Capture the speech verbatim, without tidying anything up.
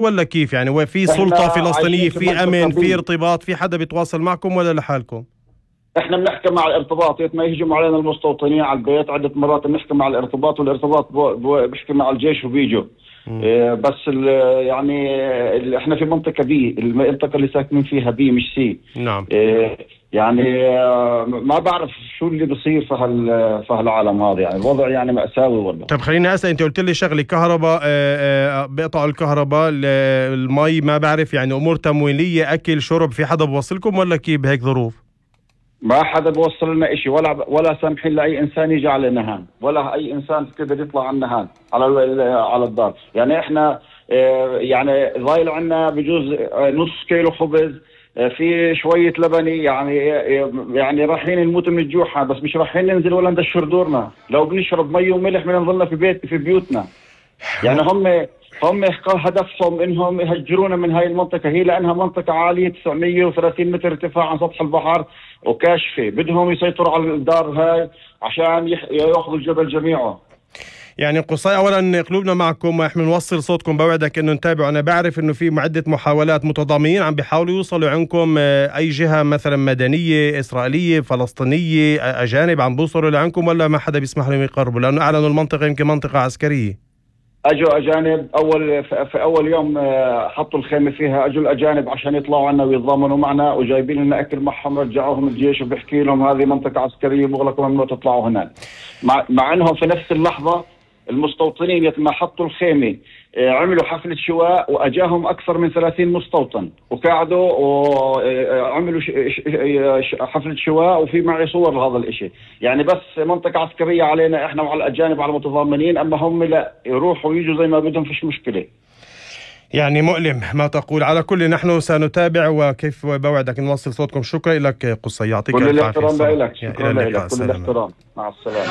ولا كيف يعني؟ وفي سلطة فلسطينية، في أمن، في ارتباط، في حدا بيتواصل معكم ولا لحالكم؟ احنا بنحكي مع الارتباط، ما يهجموا علينا المستوطنين على البيت عدة مرات بنحكي مع الارتباط، والارتباط بيحكي مع الجيش وبيجوا. اه بس يعني ال احنا في منطقة بي، المنطقة اللي ساكنين فيها بي مش سي. نعم. اه يعني اه ما بعرف شو اللي بصير في هال في هالعالم هذا، يعني الوضع يعني مأساوي والله. طب خليني اسال، انت قلت لي شغله كهرباء، بيقطعوا الكهرباء، المي ما بعرف، يعني امور تموينيه، اكل شرب، في حدا بوصلكم ولا كيف بهيك ظروف؟ ما حدا بوصل لنا اشي، ولا ولا سامحين لاي انسان يجي على نهان، ولا اي انسان كده يطلع على نهان على على الدار. يعني احنا يعني ضايل عنا بجوز نص كيلو خبز، في شويه لبني، يعني يعني رايحين نموت من الجوع، بس مش رايحين ننزل ولا ندشر دورنا. لو بنشرب مي وملح بدنا نضلنا في بيت في بيوتنا. يعني هم هم هدفهم انهم يهجرونا من هاي المنطقة، هي لانها منطقة عالية تسعمية وثلاثين متر ارتفاع عن سطح البحر وكاشفة، بدهم يسيطروا على الدار هاي عشان ياخذوا الجبل جميعه. يعني قصي، اولا قلوبنا معكم، احنا نوصل صوتكم، بوعدك انه نتابع. انا بعرف انه في عدة محاولات، متضامنين عم بيحاولوا يوصلوا عندكم، اي جهة مثلا مدنية اسرائيلية فلسطينية اجانب عم بيوصلوا لعندكم ولا ما حدا بيسمح لهم يقربوا؟ لانه اعلنوا المنطقة يمكن منطقة عسكرية. اجوا اجانب اول في اول يوم حطوا الخيمه فيها، اجوا الاجانب عشان يطلعوا عنا ويتضامنوا معنا، وجايبين لنا اكل معهم، رجعوهم الجيش وبيحكي لهم هذه منطقه عسكريه مغلقه ممنوع تطلعوا هناك. مع, مع انهم في نفس اللحظه المستوطنين ما حطوا الخيمه عملوا حفله شواء، واجاهم اكثر من ثلاثين مستوطن وقعدوا وعملوا حفله شواء، وفي معي صور لهذا الاشي. يعني بس منطقه عسكريه علينا احنا وعلى الاجانب على المتضامنين، اما هم لا، يروحوا ويجوا زي ما بدهم، فيش مشكله. يعني مؤلم ما تقول. على كل نحن سنتابع، وكيف بوعدك نوصل صوتكم. شكرا لك قصي، يعطيك الف عافية. كل الاحترام لك، شكرا لك، كل الاحترام، مع السلامه.